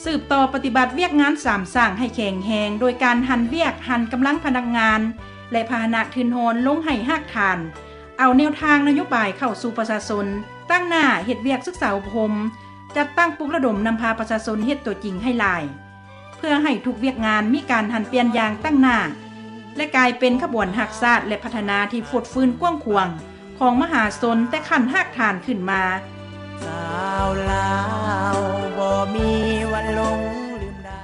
ສືບຕໍ່ປະຕິບັດວຽກງານສາມສ້າງໃຫ້ແຂງແຮງ ໂດຍການຫັນວຽກ, ຫັນກຳລັງພະນັກງານ ແລະ ພາຫະນະທຶນຮອນລົງໃຫ້ຮາກຖານ, ເອົາແນວທາງນະໂຍບາຍເຂົ້າສູ່ປະຊາຊົນ, ຕັ້ງໜ້າເຮັດວຽກສຶກສາອົບຮົມ, ຈັດຕັ້ງປຸກລະດົມນຳພາປະຊາຊົນເຮັດຕົວຈິງໃຫ້ຫຼາຍ, ເພື່ອໃຫ້ທຸກວຽກງານມີການຫັນປ່ຽນຢ່າງຕັ້ງໜ້າ ແລະ ກາຍເປັນຂະບວນຮັກຊາດ ແລະ ພັດທະນາທີ່ຟົດຟື້ນກວ້າງຂວາງຂອງມະຫາຊົນແຕ່ຂັ້ນຮາກຖານຂຶ້ນມາ. ຊາວລາວບໍ່ມີວັນຫຼົງລືມໄດ້.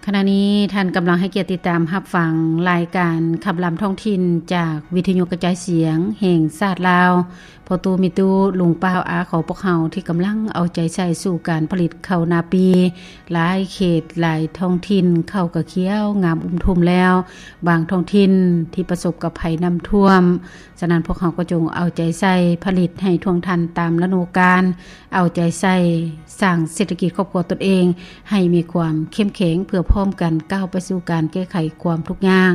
ຂະນະນີ້ທ່ານກຳລັງໃຫ້ກຽດຕິດຕາມຮັບຟັງລາຍການຄຳລຳທ້ອງຖິ່ນ ຈາກວິທະຍຸກະຈາຍສຽງແຫ່ງຊາດລາວ. ພໍ່ຕູ້ແມ່ຕູ້ ລຸງປ້າອາຂອງພວກເຮົາ ທີ່ກຳລັງເອົາໃຈໃສ່ສູ່ການຜະລິດເຂົ້ານາປີ. ຫຼາຍເຂດ, ຫຼາຍທ້ອງຖິ່ນ ເຂົ້າກະຂຽວງາມອຸ້ມທຸ່ມແລ້ວ. ບາງທ້ອງຖິ່ນທີ່ປະສົບກັບໄພນ້ຳຖ້ວມ. ສະນັ້ນ, ພວກເຮົາກໍຈົ່ງເອົາໃຈໃສ່ຜະລິດໃຫ້ທ່ວງທັນຕາມລະດູການ, ເອົາໃຈໃສ່ສ້າງເສດຖະກິດຄອບຄົວຕົນເອງໃຫ້ມີຄວາມເຂັ້ມແຂງ ເພື່ອພ້ອມກັນກ້າວໄປສູ່ການແກ້ໄຂຄວາມທຸກຍາກ.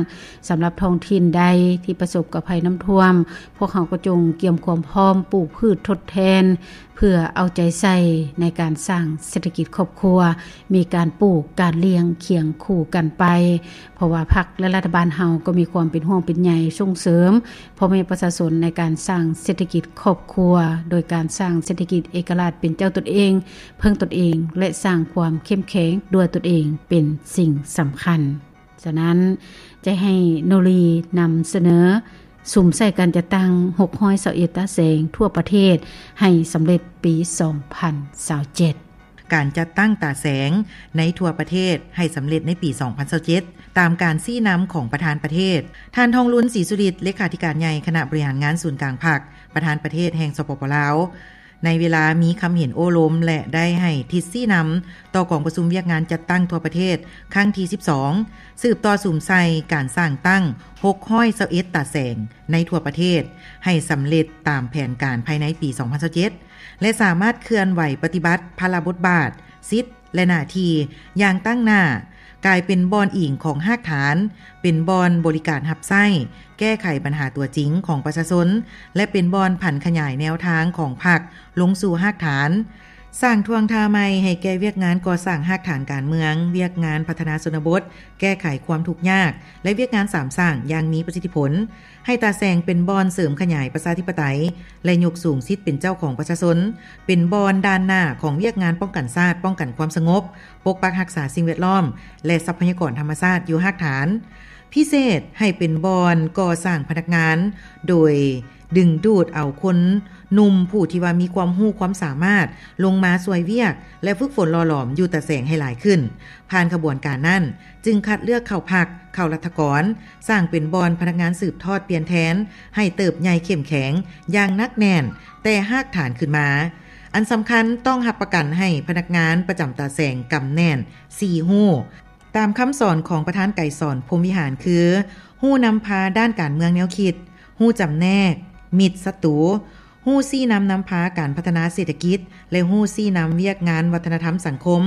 ສຳລັບທ້ອງຖິ່ນໃດທີ່ປະສົບກັບໄພນ້ຳຖ້ວມ, ພວກເຮົາກໍຈົ່ງກຽມຄວາມພ້ອມປູກພືດທົດແທນ ເພື່ອເອົາໃຈໃສ່ໃນການສ້າງເສດຖະກິດຄອບຄົວ, ມີການປູກການລ້ຽງຄຽງຄູ່ກັນໄປ, ເພາະວ່າພັກ ແລະ ລັດຖະບານເຮົາກໍມີຄວາມເປັນຫ່ວງເປັນໃຍສົ່ງເສີມພໍ່ແມ່ປະຊາຊົນໃນການສ້າງເສດຖະກິດຄອບຄົວ, ໂດຍການສ້າງເສດຖະກິດເອກະລາດເປັນເຈົ້າຕົນເອງ, ເພິ່ງຕົນເອງ ແລະ ສ້າງຄວາມເຂັ້ມແຂງດ້ວຍຕົນເອງເປັນສິ່ງສຳຄັນ. ສະນັ້ນ, ຈະໃຫ້ໂນລີນຳສະເໜີສຸມໃສ່ການຈັດຕັ້ງຫົກຮ້ອຍຊາວເອັດຕາແສງທົ່ວປະເທດໃຫ້ສຳເລັດປີສອງພັນຊາວເຈັດ. ການຈັດຕັ້ງຕາແສງໃນທົ່ວປະເທດໃຫ້ສຳເລັດໃນປີສອງພັນຊາວເຈັດ ຕາມການຊີ້ນຳຂອງປະທານປະເທດ. ທ່ານ ທອງລຸນ ສີສຸລິດ ເລຂາທິການໃຫຍ່ຄະນະບໍລິຫານງານສູນກາງພັກ, ປະທານປະເທດແຫ່ງ ສປປ ລາວ ໃນເວລາມີຄຳເຫັນໂອ້ລົມ ແລະ ໄດ້ໃຫ້ທິດຊີ້ນຳຕໍ່ກອງປະຊຸມວຽກງານຈັດຕັ້ງທົ່ວປະເທດຄັ້ງທີສິບສອງ ສືບຕໍ່ສຸມໃສ່ການສ້າງຕັ້ງຫົກຮ້ອຍຊາວເອັດຕາແສງໃນທົ່ວປະເທດ ໃຫ້ສຳເລັດຕາມແຜນການພາຍໃນປີສອງພັນຊາວເຈັດ ແລະ ສາມາດເຄື່ອນໄຫວປະຕິບັດພາລະບົດບາດ, ສິດ ແລະ ໜ້າທີ່ຢ່າງຕັ້ງໜ້າ, ກາຍເປັນບ່ອນອີງຂອງຮາກຖານ, ເປັນບ່ອນບໍລິການຮັບໃຊ້, ແກ້ໄຂບັນຫາຕົວຈິງຂອງປະຊາຊົນ ແລະ ເປັນບ່ອນຜັນຂະຫຍາຍແນວທາງຂອງພັກລົງສູ່ຮາກຖານ, ສ້າງທ່ວງທ່າໃໝ່ໃຫ້ແກ່ວຽກງານກໍ່ສ້າງຮາກຖານການເມືອງ, ວຽກງານພັດທະນາຊົນນະບົດ, ແກ້ໄຂຄວາມທຸກຍາກ ແລະ ວຽກງານສາມສ້າງຢ່າງມີປະສິດທິຜົນ, ໃຫ້ຕາແສງເປັນບ່ອນເສີມຂະຫຍາຍປະຊາທິປະໄຕ ແລະ ຍົກສູງສິດເປັນເຈົ້າຂອງປະຊາຊົນ, ເປັນບ່ອນດ່ານໜ້າຂອງວຽກງານປ້ອງກັນຊາດ, ປ້ອງກັນຄວາມສະຫງົບ, ປົກປັກຮັກສາສິ່ງແວດລ້ອມ ແລະ ຊັບພະຍາກອນທຳມະຊາດຢູ່ຮາກຖານ. ພິເສດໃຫ້ເປັນບ່ອນກໍ່ສ້າງພະນັກງານ, ໂດຍດຶງດູດເອົາຄົນໜຸ່ມຜູ້ທີ່ວ່າມີຄວາມຮູ້ຄວາມສາມາດລົງມາຊ່ວຍວຽກ ແລະ ຝຶກຝົນຫຼໍ່ຫຼອມຢູ່ຕາແສງໃຫ້ຫຼາຍຂຶ້ນ. ຜ່ານຂະບວນການນັ້ນ ຈຶ່ງຄັດເລືອກເຂົ້າພັກ, ເຂົ້າລັດຖະກອນ, ສ້າງເປັນບ່ອນພະນັກງານສືບທອດປ່ຽນແທນ ໃຫ້ເຕີບໃຫຍ່ເຂັ້ມແຂງຢ່າງໜັກແໜ້ນແຕ່ຮາກຖານຂຶ້ນມາ. ອັນສຳຄັນ, ຕ້ອງຮັບປະກັນໃຫ້ພະນັກງານປະຈຳຕາແສງກຳແໜ້ນສີ່ຮູ້ ຕາມຄຳສອນຂອງປະທານໄກສອນ ພົມວິຫານ ຄື ຮູ້ນຳພາດ້ານການເມືອງແນວຄິດ, ຮູ້ຈຳແນກມິດສັດຕູ, ຮູ້ຊີ້ນຳນຳພາການພັດທະນາເສດຖະກິດ ແລະ ຮູ້ຊີ້ນຳວຽກງານວັດທະນະທຳສັງຄົມ.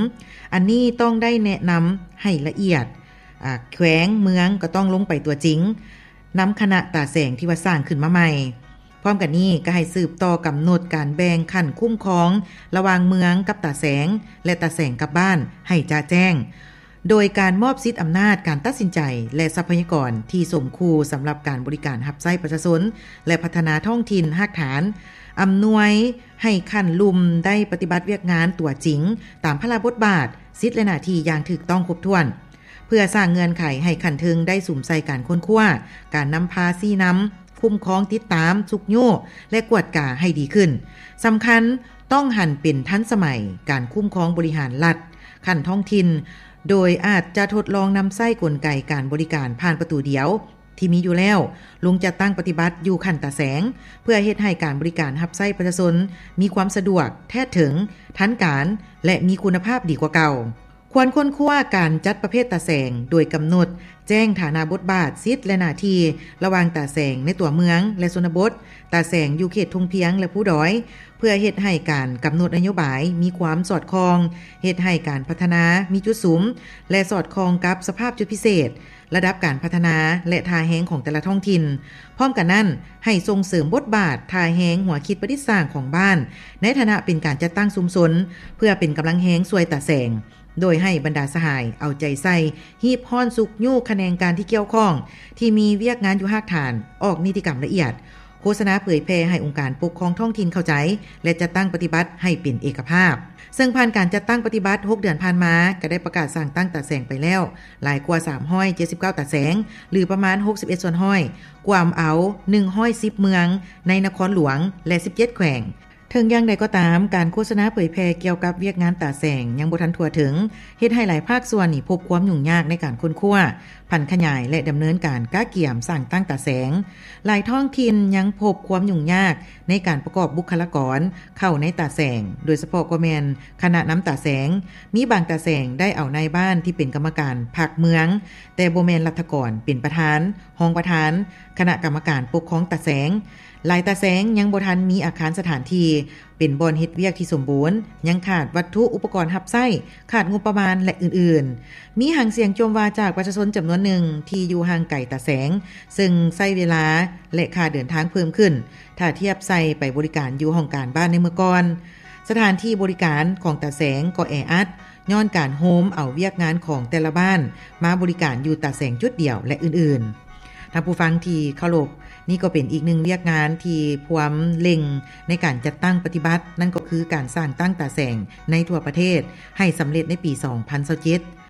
ອັນນີ້ຕ້ອງໄດ້ແນະນຳໃຫ້ລະອຽດ, ອາ, ແຂວງເມືອງກໍຕ້ອງລົງໄປຕົວຈິງນຳຄະນະຕາແສງທີ່ວ່າສ້າງຂຶ້ນມາໃໝ່. ພ້ອມກັນນີ້ກໍໃຫ້ສືບຕໍ່ກຳນົດການແບ່ງຂັ້ນຄຸ້ມຄອງລະຫວ່າງເມືອງກັບຕາແສງ ແລະ ຕາແສງກັບບ້ານໃຫ້ຈະແຈ້ງ. ໂດຍການມອບສິດອຳນາດການຕັດສິນໃຈ ແລະ ຊັບພະຍາກອນທີ່ສົມຄູ່ສຳລັບການບໍລິການຮັບໃຊ້ປະຊາຊົນ ແລະ ພັດທະນາທ້ອງຖິ່ນຮາກຖານ, ອຳນວຍໃຫ້ຂັ້ນລຸ່ມໄດ້ປະຕິບັດວຽກງານຕົວຈິງຕາມພາລະບົດບາດ, ສິດ ແລະ ໜ້າທີ່ຢ່າງຖືກຕ້ອງຄົບຖ້ວນ, ເພື່ອສ້າງເງື່ອນໄຂໃຫ້ຂັ້ນເທິງໄດ້ສຸມໃສ່ການຄົ້ນຄວ້າ, ການນຳພາຊີ້ນຳ, ຄຸ້ມຄອງ, ຕິດຕາມ, ຊຸກຍູ້ ແລະ ກວດກາໃຫ້ດີຂຶ້ນ. ສຳຄັນ, ຕ້ອງຫັນເປັນທັນສະໄໝການຄຸ້ມຄອງບໍລິຫານລັດຂັ້ນທ້ອງຖິ່ນ, ໂດຍອາດຈະທົດລອງນຳໃຊ້ກົນໄກການບໍລິການຜ່ານປະຕູດຽວທີ່ມີຢູ່ແລ້ວ ລົງຈັດຕັ້ງປະຕິບັດຢູ່ຂັ້ນຕາແສງ, ເພື່ອເຮັດໃຫ້ການບໍລິການຮັບໃຊ້ປະຊາຊົນມີຄວາມສະດວກ, ແທດເຖິງ, ທັນການ ແລະ ມີຄຸນນະພາບດີກວ່າເກົ່າ. ຄວນຄົ້ນຄວ້າການຈັດປະເພດຕາແສງ ໂດຍກຳນົດແຈ້ງຖານະບົດບາດ, ສິດ ແລະ ໜ້າທີ່ລະຫວ່າງຕາແສງໃນຕົວເມືອງ ແລະ ຊົນນະບົດ, ຕາແສງຢູ່ເຂດທົ່ງພຽງ ແລະ ພູດອຍ, ເພື່ອເຮັດໃຫ້ການກຳນົດນະໂຍບາຍມີຄວາມສອດຄ່ອງ, ເຮັດໃຫ້ການພັດທະນາມີຈຸດສຸມ ແລະ ສອດຄ່ອງກັບສະພາບຈຸດພິເສດ, ລະດັບການພັດທະນາ ແລະ ທ່າແຮງຂອງແຕ່ລະທ້ອງຖິ່ນ. ພ້ອມກັນນັ້ນ, ໃຫ້ສົ່ງເສີມບົດບາດທ່າແຮງຫົວຄິດປະດິດສ້າງຂອງບ້ານ ໃນຖານະເປັນການຈັດຕັ້ງຊຸມຊົນ ເພື່ອເປັນກຳລັງແຮງຊ່ວຍຕາແສງ. ໂດຍໃຫ້ບັນດາສະຫາຍເອົາໃຈໃສ່ ຮີບຮ້ອນຊຸກຍູ້ຂະແໜງການທີ່ກ່ຽວຂ້ອງ ທີ່ມີວຽກງານຢູ່ຮາກຖານ ອອກນິຕິກຳລະອຽດ, ໂຄສະນາເຜີຍແຜ່ໃຫ້ອົງການປົກຄອງທ້ອງຖິ່ນເຂົ້າໃຈ ແລະ ຈັດຕັ້ງປະຕິບັດໃຫ້ເປັນເອກະພາບ. ເຊິ່ງຜ່ານການຈັດຕັ້ງປະຕິບັດ ຫົກເດືອນຜ່ານມາ ກໍໄດ້ປະກາດສ້າງຕັ້ງຕາແສງໄປແລ້ວ ຫຼາຍກວ່າ ສາມຮ້ອຍເຈັດສິບເກົ້າຕາແສງ ຫຼື ປະມານ ຫົກສິບເອັດສ່ວນຮ້ອຍ ກວມເອົາ ໜຶ່ງຮ້ອຍສິບເມືອງ ໃນນະຄອນຫຼວງ ແລະ ສິບເຈັດແຂວງ. ເຖິງຢ່າງໃດກໍຕາມ, ການໂຄສະນາເຜີຍແຜ່ກ່ຽວກັບວຽກງານຕາແສງຍັງບໍ່ທັນທົ່ວເຖິງ, ເຮັດໃຫ້ຫຼາຍພາກສ່ວນນີ້ພົບຄວາມຫຍຸ້ງຍາກໃນການຄົ້ນຄວ້າ, ຜັນຂະຫຍາຍ ແລະ ດຳເນີນການກະກຽມສ້າງຕັ້ງຕາແສງ. ຫຼາຍທ້ອງຖິ່ນຍັງພົບຄວາມຫຍຸ້ງຍາກໃນການປະກອບບຸກຄະລາກອນເຂົ້າໃນຕາແສງ, ໂດຍສະເພາະກໍແມ່ນຄະນະນຳຕາແສງ. ມີບາງຕາແສງໄດ້ເອົານາຍບ້ານທີ່ເປັນກຳມະການພັກເມືອງ, ແຕ່ບໍ່ແມ່ນລັດຖະກອນເປັນປະທານ, ຮອງປະທານ, ຄະນະກຳມະການປົກຄອງຕາແສງ. ຫຼາຍຕາແສງຍັງບໍ່ທັນມີອາຄານສະຖານທີ່ ເປັນບ່ອນເຮັດວຽກທີ່ສົມບູນ, ຍັງຂາດວັດຖຸອຸປະກອນຮັບໃຊ້, ຂາດງົບປະມານ ແລະ ອື່ນໆ. ມີຫາງສຽງຈົ່ມວ່າຈາກປະຊາຊົນຈຳນວນໜຶ່ງທີ່ຢູ່ຫ່າງໄກຕາແສງ, ເຊິ່ງໃຊ້ເວລາ ແລະ ຄ່າເດີນທາງເພີ່ມຂຶ້ນ ຖ້າທຽບໃສ່ໄປບໍລິການຢູ່ຫ້ອງການບ້ານໃນເມື່ອກ່ອນ. ສະຖານທີ່ບໍລິການຂອງຕາແສງກໍແອອັດ ຍ້ອນການໂຮມເອົາວຽກງານຂອງແຕ່ລະບ້ານມາບໍລິການຢູ່ຕາແສງຈຸດດຽວ ແລະ ອື່ນໆ. ທ່ານຜູ້ຟັງທີ່ເຄົາລົບ, ນີ້ກໍເປັນອີກໜຶ່ງວຽກງານທີ່ພວມເລັ່ງໃນການຈັດຕັ້ງປະຕິບັດ, ນັ້ນກໍຄືການສ້າງຕັ້ງຕາແສງໃນທົ່ວປະເທດໃຫ້ສຳເລັດໃນປີສອງພັນຊາວເຈັດ.